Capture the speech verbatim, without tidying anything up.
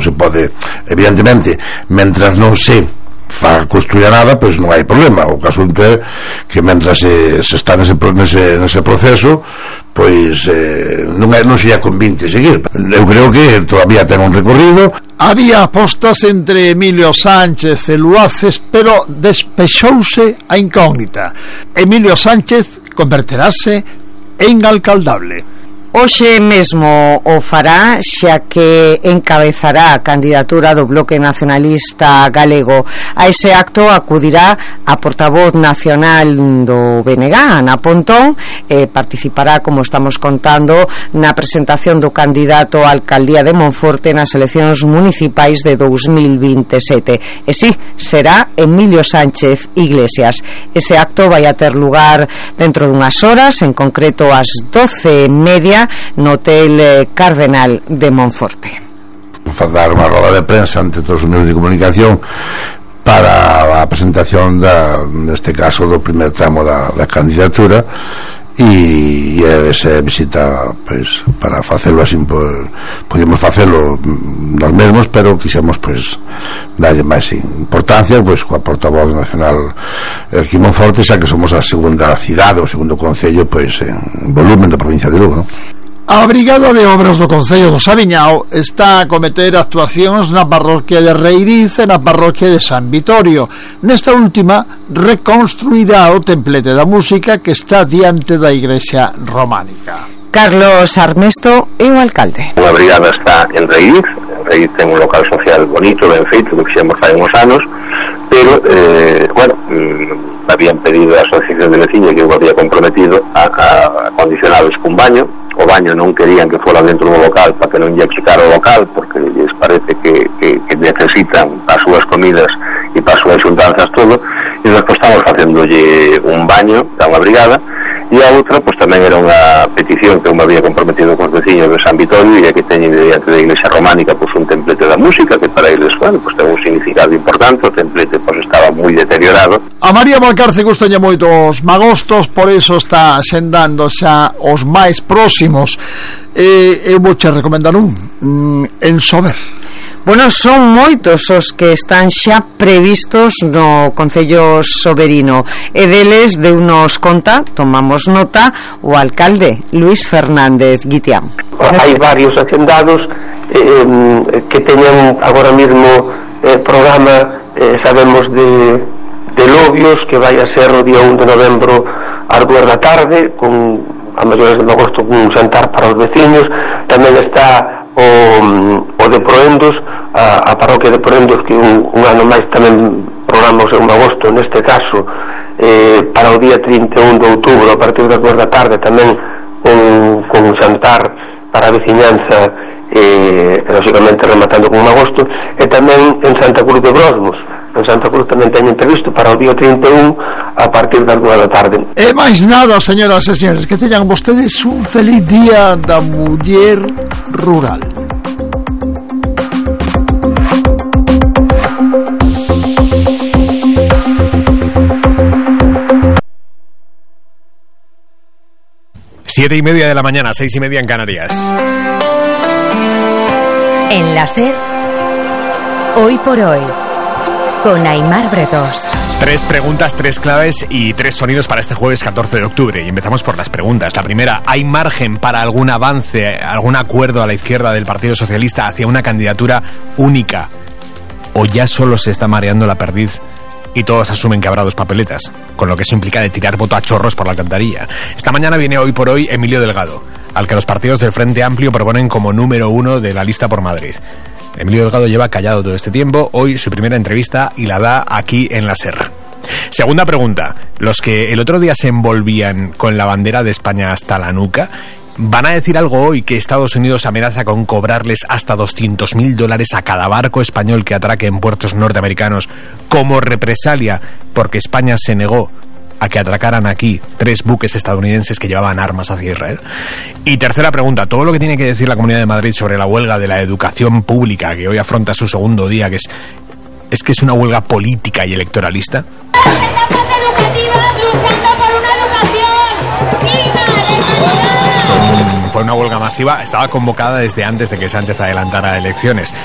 non se pode, evidentemente, mentras non se fa construir nada, pois non hai problema. O caso é que mentras se, se está nese, nese, nese proceso, pois eh, non, é, non sería convinte seguir. Eu creo que todavía ten un recorrido. Había apostas entre Emilio Sánchez e Luaces, pero despexouse a incógnita. Emilio Sánchez converterase en alcaldable. Hoxe mesmo o fará, xa que encabezará a candidatura do Bloque Nacionalista Galego. A ese acto acudirá a portavoz nacional do B N G, Ana Pontón, e participará, como estamos contando, na presentación do candidato á alcaldía de Monforte nas eleccións municipais de dous mil vinte e sete. E si, será Emilio Sánchez Iglesias. Ese acto vai a ter lugar dentro dunhas horas, en concreto ás doce e media, no Hotel Cardenal de Monforte. Dar unha roda de prensa ante todos os medios de comunicación para a presentación da, neste caso, do primer tramo da, da candidatura, e, e esa visita, pois, para facelo así, pues, podíamos facelo nós mesmos, pero quixemos, pois, darlle máis importancia, pois, coa portavoz nacional aquí en Monforte, xa que somos a segunda cidade, o segundo concello, pois, en volumen da provincia de Lugo, non? A Brigada de Obras do Concello do Sabiñao está a cometer actuacións na parroquia de Reiriz e na parroquia de San Vitorio. Nesta última, reconstruirá o templete da música que está diante da igrexa románica. Carlos Armesto é o alcalde. A brigada está en Reiriz. Reiriz ten un local social bonito, ben feito, do que fixemos fai uns anos, pero, eh, bueno, mmm, habían pedido a asociación de veciños que eu había comprometido a, a acondicionados cun baño. O baño non querían que fora dentro do local para que non lle achicara o local, porque lles parece que, que, que necesitan as súas comidas e para as súas xuntanzas todo, e despois estamos facéndolle un baño a unha brigada, e a outra, pois tamén era unha petición que eu me había comprometido con os veciños de San Vitorio, e aquí teñen diante da iglesia románica pois un templete da música que para eles, bueno, pois ten un significado importante. O templete pois estaba moi deteriorado. A María Valcarce gustalle moito os magostos, por iso está xendando xa os máis próximos. Eh, eu vou che recomendar un mm, en Sober. Bueno, son moitos os que están xa previstos no Concello Soberino, e deles de unos conta, tomamos nota, o alcalde Luis Fernández Guitián. Hai varios agendados eh, que teñen agora mesmo eh, programa, eh, sabemos de, de Lobios, que vai a ser o día un de novembro ás dúas da tarde, con a maiores de agosto un xantar para os veciños. Tamén está o, o de Proendos, a, a parroquia de Proendos, que un, un ano máis tamén programamos en agosto, neste caso eh, para o día trinta e un de outubro a partir das dúas da tarde tamén un, con un xantar para a veciñanza, eh, lógicamente rematando con un agosto. E tamén en Santa Cruz de Brosmos, en Santa Cruz tamén teñen previsto para o día trinta e un a partir das dúas da tarde. E máis nada, señoras e señores, que teñan vostedes un feliz día da muller rural. Siete y media de la mañana, seis y media en Canarias. En la SER, hoy por hoy, con Aimar Bretos. Tres preguntas, tres claves y tres sonidos para este jueves catorce de octubre. Y empezamos por las preguntas. La primera, ¿hay margen para algún avance, algún acuerdo a la izquierda del Partido Socialista hacia una candidatura única? ¿O ya solo se está mareando la perdiz y todos asumen que habrá dos papeletas, con lo que eso implica de tirar voto a chorros por la alcantarilla? Esta mañana viene hoy por hoy Emilio Delgado, al que los partidos del Frente Amplio proponen como número uno de la lista por Madrid. Emilio Delgado lleva callado todo este tiempo. Hoy su primera entrevista y la da aquí en la SER. Segunda pregunta, los que el otro día se envolvían con la bandera de España hasta la nuca, ¿van a decir algo hoy que Estados Unidos amenaza con cobrarles hasta doscientos mil dólares a cada barco español que atraque en puertos norteamericanos como represalia porque España se negó a que atracaran aquí tres buques estadounidenses que llevaban armas hacia Israel? Y tercera pregunta, todo lo que tiene que decir la Comunidad de Madrid sobre la huelga de la educación pública, que hoy afronta su segundo día, que es, es que es una huelga política y electoralista. Fue una huelga masiva, estaba convocada desde antes de que Sánchez adelantara elecciones.